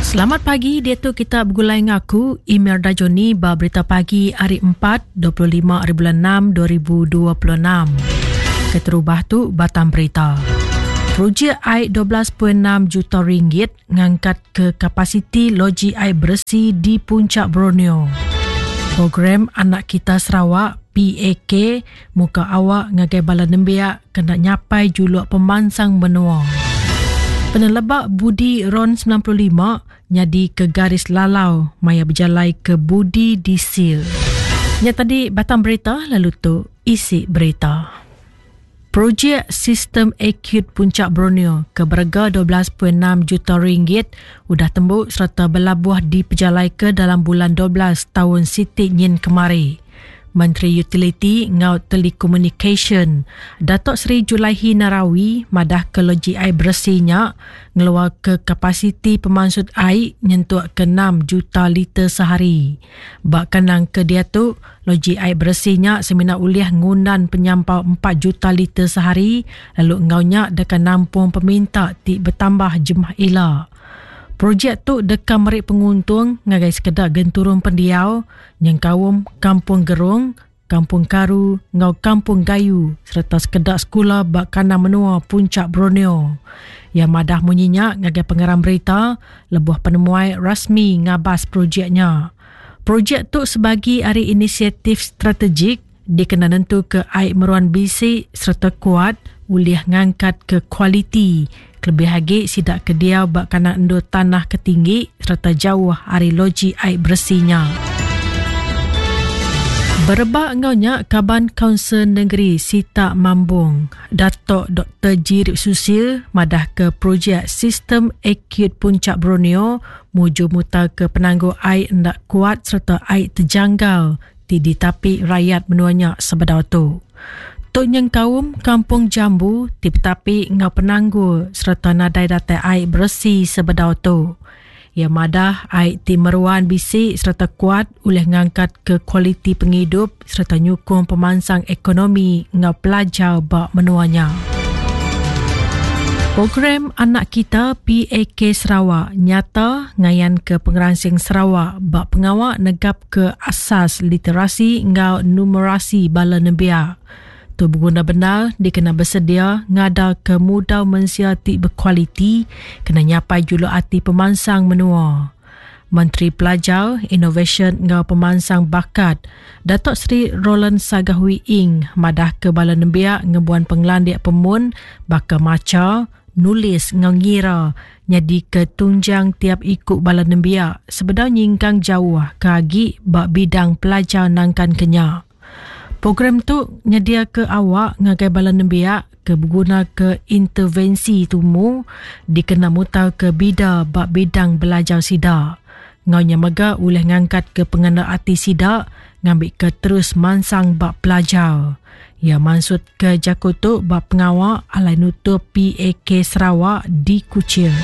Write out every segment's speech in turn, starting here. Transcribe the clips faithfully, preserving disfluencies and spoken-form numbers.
Selamat pagi, dia tu kita bergulai ngaku Emir Dajoni ba berita pagi hari empat, dua puluh lima hari bulan enam, dua ribu dua puluh enam. Keterubah tu batang berita. Projek air dua belas perpuluhan enam juta ringgit ngangkat ke kapasiti loji air bersih di Puncak Borneo. Program Anak Kita Sarawak P A K muka awak ngagai bala nembiak kena nyapai juluk pemansang menua. Penelebak Budi Ron sembilan puluh lima nyadi ke garis lalau maya berjalai ke Budi Disil. Nya tadi batang berita, lalu tu isi berita. Projek Sistem Acute Puncak Borneo ke berega dua belas perpuluhan enam juta ringgit udah tembuk serta berlabuh di pejalai ke dalam bulan dua belas tahun Siti Nyin kemari. Menteri Utility ngau Telecommunication Datuk Seri Julaihi Narawi madah ke loji air bersihnya ngeluar ke kapasiti pemansut air nyentuk ke enam juta liter sehari. Bak kenang ke dia tu, loji air bersihnya semina ulih ngundan penyampau empat juta liter sehari lalu ngaunya dekan nampung peminta ti bertambah jemah ila. Projek tu deka merik penguntung ngagai sekedar genturung pendiau nyengkaum Kampung Gerung, Kampung Karu ngau Kampung Gayu serta sekedar sekolah bak kana menua Puncak Borneo. Yang madah munyinya ngagai pengeram berita lebuh penemuai rasmi ngabas projeknya. Projek tu sebagi ari inisiatif strategik dikena nentu ke air meruan bisik serta kuat ulih ngangkat ke kualiti. Kelebih lagi sidak ke dia bak kana endur tanah ketinggi serta jauh ari loji air bersihnya. Berebak engaunya Kaban Kaunsil Negeri Sitak Mambong, Datuk Doktor Jirip Susil madah ke projek Sistem Acute Puncak Borneo muju mutar ke penangguh air hendak kuat serta air terjanggal ti ditapi rakyat menuanya sebedau tu. Tok nyengkaum Kampung Jambu ti betapi ngau penanggul serta nadai datai air bersih sebedau tu. Ia madah air ti meruan bisik serta kuat ulih ngangkat ke kualiti penghidup serta nyukung pemansang ekonomi ngau pelajar bak menuanya. Program Anak Kita P A K Sarawak nyata ngayan ke pengeransing Sarawak bak pengawak negap ke asas literasi ngau numerasi bala nembiak. Tu berguna benar dikena bersedia ngada ke mudau mensia ti berkualiti kena nyapai juluk ati pemansang menua. Menteri Pelajar, Inovasi ngau Pemansang Bakat, Datuk Seri Roland Sagah Wee Ing madah ke bala nembiak ngebuan penglandik pemun baka maca, nulis ngau ngira nyadi ke tunjang tiap ikut bala nembiak sebedau nyingkang jauh ke agi bak bidang pelajar nangkan kenya. Program tu nyedia ke awak ngagai bala nembiak ke berguna ke intervensi tumu dikena mutar ke bida bak bidang belajar sida. Ngaunya mega ulih ngangkat ke pengena ati sida ngambil ke terus mansang bak pelajar. Ia maksud ke jaku tu bak pengawak alai nutup P A K Sarawak di Kuching.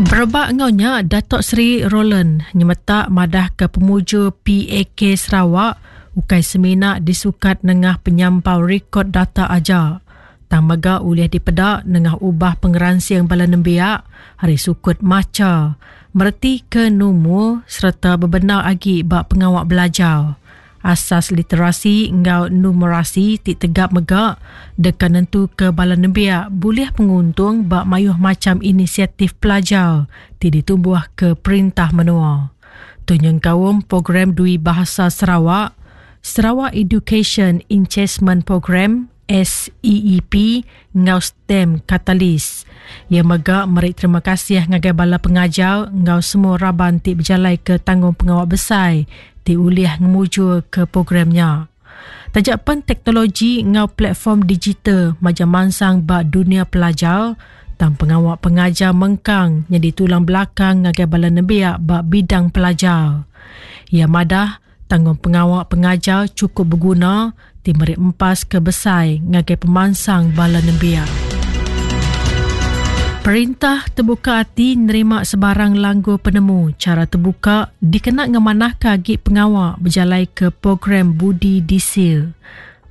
Berebak ngaunya Datuk Seri Roland nyemetak madah ke pemuju P A K Sarawak ukai semina disukat nengah penyampau rekod data aja. Tang mega ulih dipedak nengah ubah pengeransing bala nembiak hari sukut maca, mereti ke numu serta bebenar agi bak pengawak belajar. Asas literasi ngau numerasi ti tegap mega dekan nentu ke bala nembiak boleh penguntung bak mayuh macam inisiatif pelajar ti ditumbuh ke perintah menua. Tu nyengkaum program Dwi Bahasa Sarawak, Sarawak Education Enhancement Program S E E P ngau STEM Catalyst. Ia mega meri terima kasih ngagai bala pengajar ngau semua raban ti berjalai ke tanggung pengawak besar ti ulih ngemuju ke programnya. Tajak pen teknologi ngau platform digital macam mansang bak dunia pelajar, tang pengawak pengajar mengkang jadi tulang belakang ngagai bala nembiak bak bidang pelajar. Ia madah tanggung pengawak pengajar cukup berguna ti meri empas ke besai ngagai pemansang bala nembiak. Perintah terbuka hati nerima sebarang langgur penemu cara terbuka dikena ngemanah ke agi pengawak berjalai ke program Budi Disil.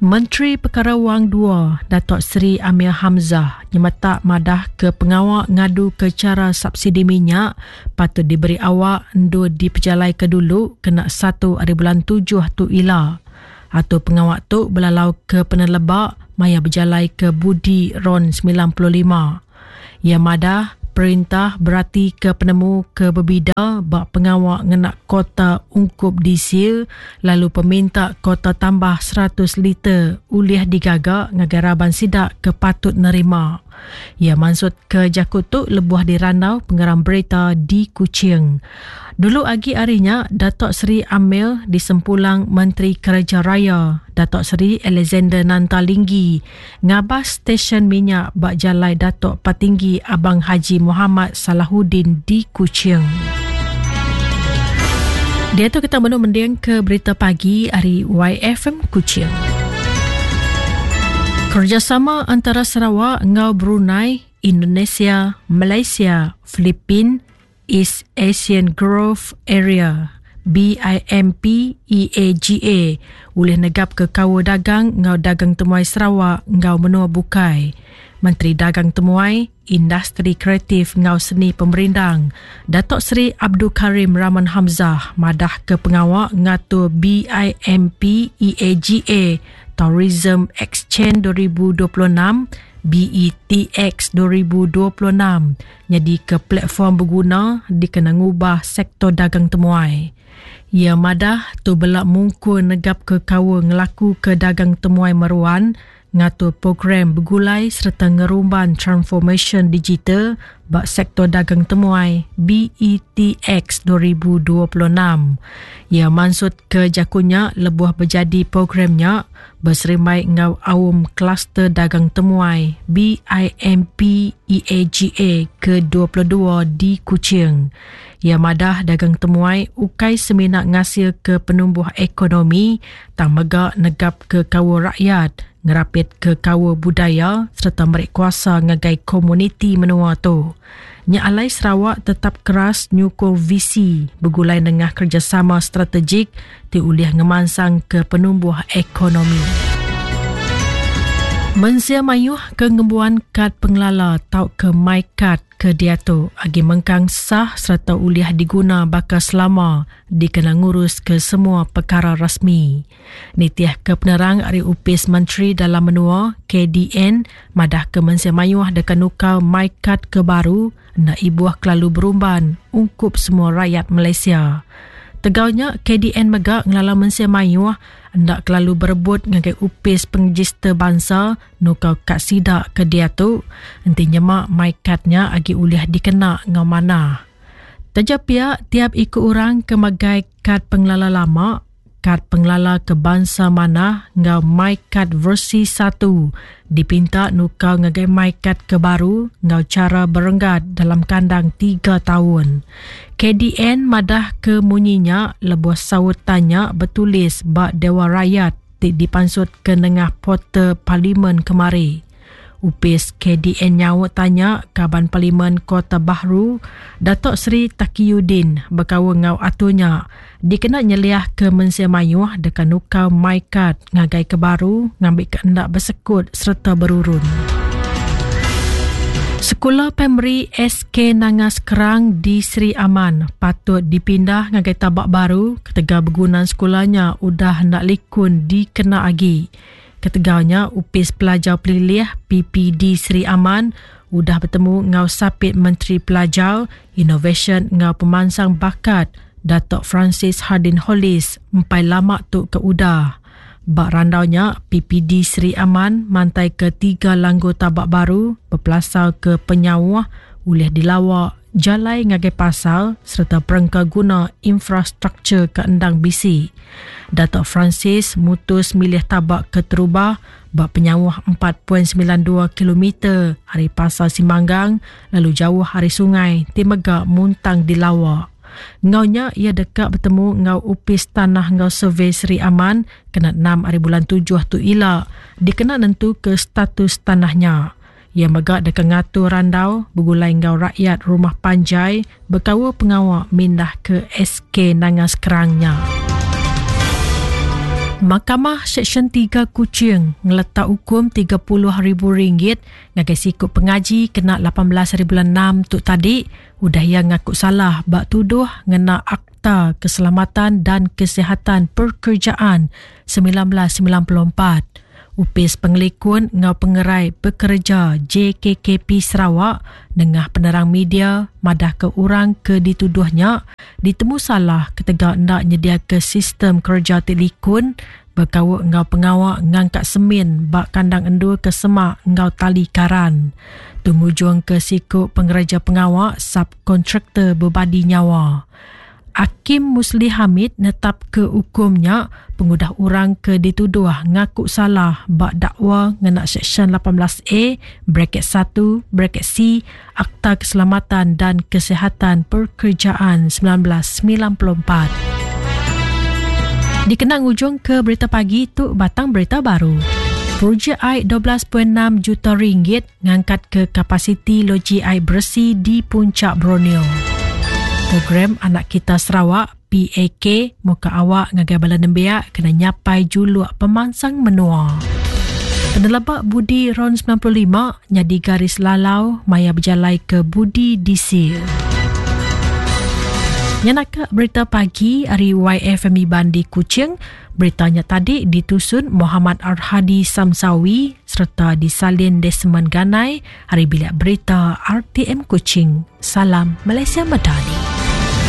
Menteri Pekara Wang dua, Datuk Seri Amir Hamzah nyemetak madah ke pengawak ngadu ke cara subsidi minyak patut diberi awak endur dipejalai ke dulu kena satu hari bulan tujuh tu ila. Atau pengawak tu belalau ke penelebak maya berjalai ke Budi RON sembilan puluh lima. Ia madah perintah berarti ke penemu ke berbida bak pengawak ngenak kota ungkup diesel lalu peminta kota tambah seratus liter ulih digagak ngagai raban sidak ke patut nerima. Ia maksud ke jakut tu lebuh dirandau pengeram berita di Kuching. Dulu agi harinya, Datuk Seri Amir disempulang Menteri Kerja Raya, Datuk Seri Alexander Nanta Linggi, ngabas stesen minyak bak jalai Datuk Patinggi Abang Haji Muhammad Salahuddin di Kuching. Dia tu kita menu mending ke berita pagi hari Y F M Kuching. Kerjasama antara Sarawak ngau Brunei, Indonesia, Malaysia, Filipin, East Asian Growth Area B I M P E A G A boleh negap ke kawa dagang ngau dagang temuai Sarawak ngau menua bukai. Menteri Dagang Temuai, Industri Kreatif ngau Seni Pemerindang, Datuk Seri Abdul Karim Rahman Hamzah madah ke pengawak ngatur B I M P E A G A Tourism Exchange dua ribu dua puluh enam B E T X dua ribu dua puluh enam jadi ke platform berguna dikena ngubah sektor dagang temuai. Ia madah tu belak mungkur negap ke kawa ngelaku ke dagang temuai meruan, ngatur program bergulai serta ngerumban transformation digital bak sektor dagang temuai B E T X dua ribu dua puluh enam. Ia maksud ke jakunya lebuh berjadi programnya berserimai ngau awam kluster dagang temuai B I M P E A G A ke dua puluh dua di Kuching. Ia madah dagang temuai ukai seminak ngasil ke penumbuh ekonomi tang megak negap ke kawa rakyat, ngerapit ke kawa budaya serta merik kuasa ngagai komuniti menua tu. Nya alai Sarawak tetap keras nyukung visi bergulai nengah kerjasama strategik ti ulih ngemansang ke penumbuh ekonomi. Mensia mayuh ke ngembuan kad pengelala tau ke MyKad ke diatu agi mengkang sah serta ulih diguna bakal selama dikena ngurus ke semua perkara rasmi. Nitiah ke penerang ari Upis Menteri Dalam Menua K D N madah ke mensia mayuh dekat nukau MyKad ke baru nak ibuah kelalu berumban ungkup semua rakyat Malaysia. Tegaunya K D N megak ngelala mensia mayuh ndak kelalu berebut ngagai upis pengregister bangsa nukau kat sidak ke dia tu enti nyemak MyKadnya agi ulih dikena ngau mana. Tajapia tiap ikut orang ke magai kad pengelala lama, kad pengelala ke bangsa mana ngau MyKad versi satu dipinta nukau ngagai MyKad ke baru ngau cara berenggat dalam kandang tiga tahun. K D N madah ke munyinya lebuh saut tanya bertulis bak Dewan Rakyat ti dipansut ke nengah portal parlimen kemari. Upis K D N nyawa tanya Kaban Parlimen Kota Bahru Datuk Seri Takiyuddin berkawa ngau atunya dikena nyeliah ke mensia mayuh dekat nukau MyKad ngagai ke baru ngambil ke hendak bersekut serta berurun. Sekolah Primary S K Nangas Kerang di Seri Aman patut dipindah ngagai tabak baru ketegal bergunaan sekolahnya udah hendak likun dikena agi. Ketegalnya Upis Pelajar Pelilih P P D Seri Aman udah bertemu ngau Sapit Menteri Pelajar, Inovasi ngau Pemansang Bakat Datuk Francis Hardin Hollis empai lama tu ke udah. Bak randaunya P P D Seri Aman mantai ke tiga langgu tabak baru berpelasar ke penyawah ulih dilawak jalai ngagai pasal serta perengka guna infrastruktur ke endang bisi. Datuk Francis mutus milih tabak ke terubah bak penyawah empat perpuluhan sembilan dua kilometer hari pasal Simanggang lalu jauh hari sungai Timegak Muntang dilawak. Ngaunya ia dekat bertemu ngau Upis Tanah ngau Survey Seri Aman kena enam hari bulan tujuh tu ila dikena nentu ke status tanahnya. Ia megak dekat ngatur randau bergulai ngau rakyat rumah panjai berkawa pengawak mindah ke S K Nangas Kerangnya. Mahkamah Seksyen tiga Kuching ngeletak hukum tiga puluh ribu ringgit ngagai siku pengaji kena lapan belas hari bulan enam tu tadi udah ia ngaku salah bak tuduh ngena Akta Keselamatan dan Kesihatan Pekerjaan sembilan belas sembilan puluh empat. Upis Pengelikun ngau Pengerai Pekerja J K K P Sarawak nengah penerang media madah ke orang ke dituduhnya ditemu salah ketegak ndak nyedia ke sistem kerja ti likun berkawak ngau pengawak ngangkat semin bak kandang endur ke semak ngau tali karan. Tungujung ke siku pengereja pengawak subkontraktor berbadi nyawa. Hakim Musli Hamid netap ke hukumnya pengudah orang ke dituduh ngaku salah bak dakwa ngena Seksyen lapan belas A bracket satu bracket C Akta Keselamatan dan Kesihatan Pekerjaan sembilan belas sembilan puluh empat. Dikenang ujung ke berita pagi tu batang berita baru. Projek air dua belas perpuluhan enam juta ringgit ngangkat ke kapasiti loji air bersih di Puncak Borneo. Program Anak Kita Sarawak P A K muka awak ngagai bala nembiak kena nyapai juluk pemansang menua. Penelabak Budi Ron sembilan puluh lima nyadi garis lalau maya berjalai ke Budi D C. Nyanaka berita pagi hari Y F M Iban di Kuching. Beritanya tadi ditusun Muhammad Arhadi Samsawi serta disalin Desmond Ganai. Hari bilik berita R T M Kuching. Salam Malaysia Madani.